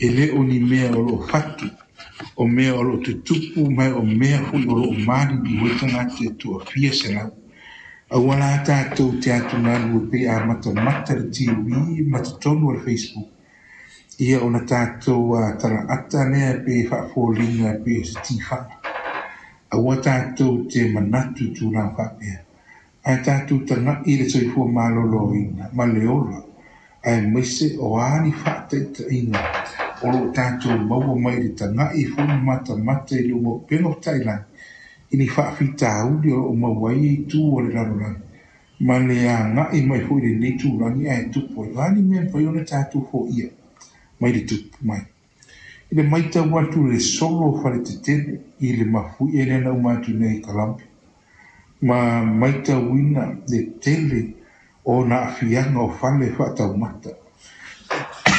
E le o ni mea o lo o fatu, o mea o lo o tutupu ma o mea foi o lo o maliliu ai tagata e toafia selau. Aua la tatou te atugalu e pei a matamata le TV ma totonu o le Facebook, ia ona tatou talaata lea pe faafoliga pei o se tifaga. Aua tatou te manatu i tulaga faapea, ae tatou tagai i le soifua maloloina ma le ola, aemaise o a ni faataitaiga o lo o tatou maua mai i le tagai foi ma matamata i luga o upega o tafailagi i ni faafitauli o lo o maua ai itu o le lalolagi ma le agai mai foi i lenei tulaga ae tupu ai. O a ni mea e mafai ona tatou foia mai le tupu mai. I le matau atu i le solo o faletetele i le mafuie lea na uma atu nei i Colombia, ma matauina le tele o ona aafiaga o fale faataumata,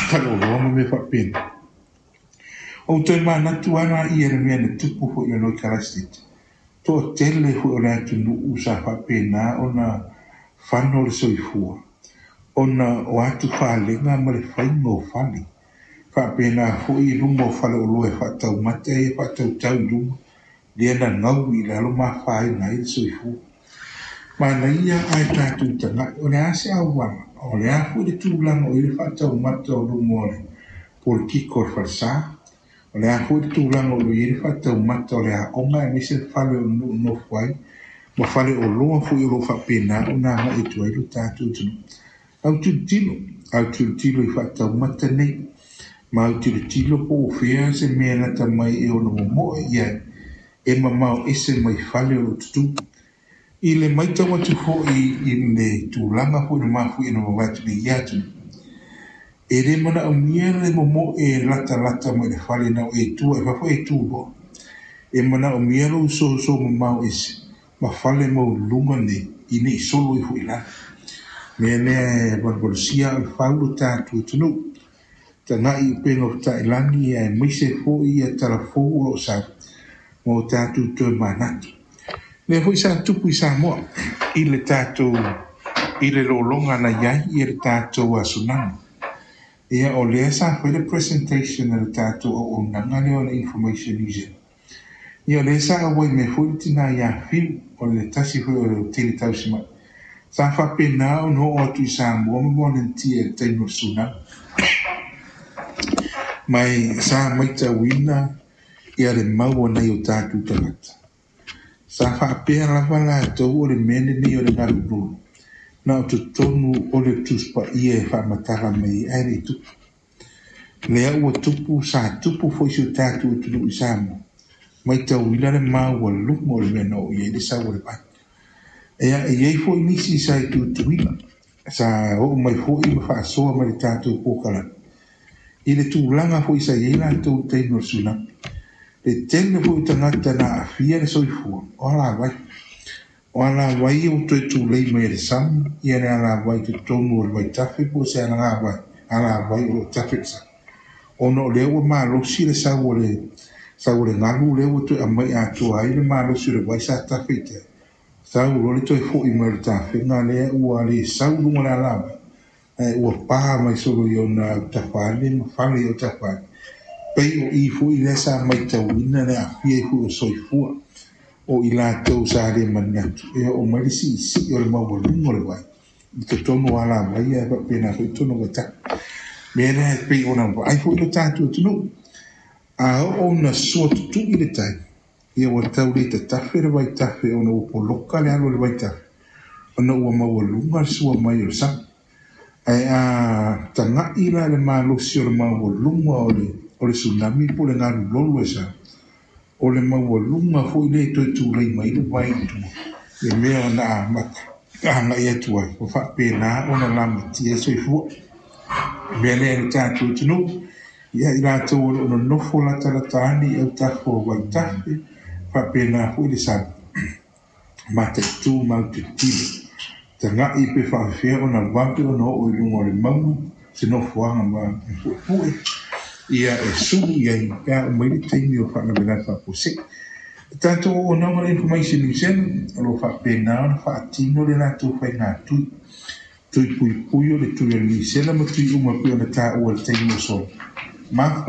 faleoloa ma mea faapena. Ua ou toe manatu lava laia i le mea na tupu foi i lalo i Kalaisete. Toatele foi o le atunuu sa faapena ona fano le soifua ona o atufalega ma le faiga o fale. Faapena foi i luma o faleoloa e faataumata ia e faatautau i luma, lea na gaui i lalo ma afaina ai le soifua. Manaia ae tatou tagai, o le a se auala, o le a foi le tulaga o i ai le faataumata o luma o le polikiko o le falesa, o le a foi le tulaga o lo o i ai le faataumata o le aoga aemaise le fale o le nofo ai, ma faleoloa foi o lo o faapena ona agai atu ai lo tatou atunuu. Autilotilo, autilotilo i faataumata nei, ma autilotilo po o fea se mea lata mai e ono momoe i ai, e mamao ese mai fale o lo o tutū. I le matau atu foi i le tulaga foi o le mafuie na mavae atu nei ia atunuu, e le manaomia le momoe latalata mai le fale na o e tua i fafo e tu loa. E manaomia lou soso mamao ese ma fale maualuluga nei ina i solo ifo i lalo. Mea lea e valuvalusia aa o le fau lo tatou atunuu. Tagai i upega o tafailagi aemaise foi ia talafou o lo o sau ma o tatou toe manatu. Lea foi sa tupu i Samoa i le tatou i le lologa na i ai ia le tatou tsunami. Ia o lea sa fai le presentation a le tatou auaunaga lea o le Information New Zealand. Ia o lea sa auai mai foi le tina ia Fiu, o le tasi foi o le tele tausimai. Sa faapena ona oo atu i Samoa ma volunteer i le taimi o le tsunami. Ma sa matauina ia le mau a nai o tatou tagata. Sa faapea lava latou o le mea lenei o le galu lolo, na o totonu o le Tusi Paia e faamatala mai ai, ae le i tupu. Lea ua tupu, sa tupu foi i si o tatou atunuu i Samoa, matauina le maualuga o le mea na oo i ai le sau o le vai. Ia, e i ai foi nisi sa i Tutuila, sa oo mai foi ma faasoa mai le tatou polokalame i le tulaga foi sa i ai latou i le taimi o le tsunami. Le tele foi o tagata na aafia le soifua, o alavai. O alavai ia ua toe tulei mai e le sami, ia le alavai i totonu o le vaitafe po o se alavai, alavai o lo o tafe i le sami. Ona o lea ua malosi le sau o le sau o le galu lea ua toe aumai atoa ai le malosi o le vai sa tafe i tai. Sau loa le toe foi mai o le tafega lea ua le sau i luga o le alavai, ae ua pa mai solo i ona autafa ane ma fale i autafa ane. Pei o i foi lea sa matauina le aafia ai foi o soifua o i latou sa le manatu e oo mai le siisii o le maualuga o le vai i totonu o alavai ae faapena foi i totonu o vaitafe. Mea lea e pei ona vaai foi lo tatou atunuu, a oo ina sua tutui le tai, ia ua tau le tatafe le vaitafe ona ua poloka le alu o le vaitafe ona ua maualuga le sua mai o le sami. Ae a tagai la le malosi o le maualuga o le tsunami po o le galu lolo e sau, o le maualuga foi lea e toe tulei mai ai le vai i tua, le mea na amata agai atu ai, ua faapena ona lamatia ai soifua. O le mea lea i le tatou atunuu, ia i latou o lo o nonofo latalata ane i autafa o vaitafe, faapena foi le sami, mataitu ma autilotilo, tagai pe faafefea ona vave ona oo i luga o le mauga se nofoaga ma puepue ia e sulu i ai pe a uma ai le taimi o faalavelave faafuasei. Le tatou auaunaga o le Information New Zealand o lo o faapena ona faatino le latou faiga tui, tui puipui o le tui o le Nisela ma tui uma pei ona taua i le taimi ua sola.